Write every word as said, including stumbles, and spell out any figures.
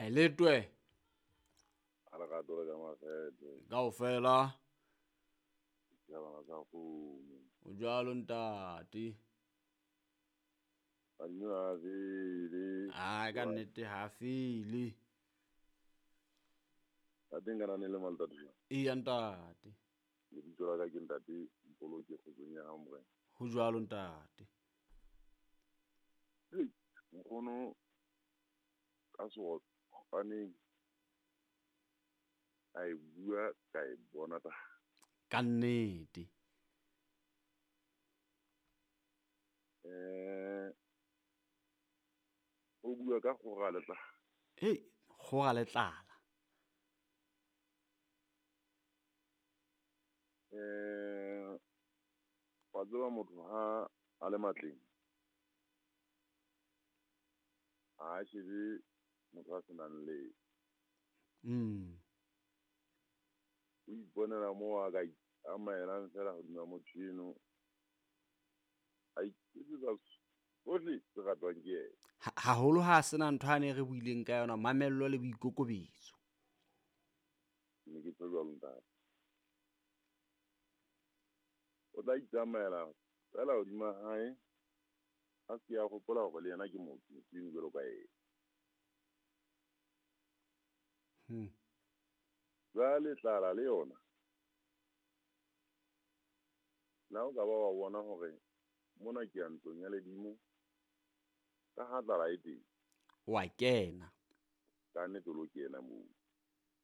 A e letwe. A lerato le ka makgethe. Kaofela. Setjhabana sa kgomo. O jwalo ntate. Badimo ha fele. Ai ka nnete ha fele. Ntate nka le maltate jwang? Eya ntate. Lebitso la ka ke ntate Mpoloke kgotsong ya hao morena. Ho jwalo ntate. Hei, nkgono ka seotswaneng a e bua ka e bona ta. Ka nnete. Eh o bua ka kgora le tlala. Hei, kgora le tlala. Eh wa tseba motho ha a le matleng ha a shebe motho a senang le. Mm. O iponela moo a ka itsamaelang fela hodima motho eno. A iketsetsa tsohle tse ratwang ke yena. Haholo ha sena ntho ane re buileng ka yona, mamello le boikokobetso. Ke ne ke tjho jwalo ntate. O tla itsamaela fela hodima hae, a se ke a hopola hore le yena ke motho, motho eno jwalo ka yena. Hmm. Jwale tlala le yona. Na o ka ba wa bona hore mona ke ya ntlong ya ledimo, ka ha tlala e teng. Wa kena. Ka nnete o lo kena moo.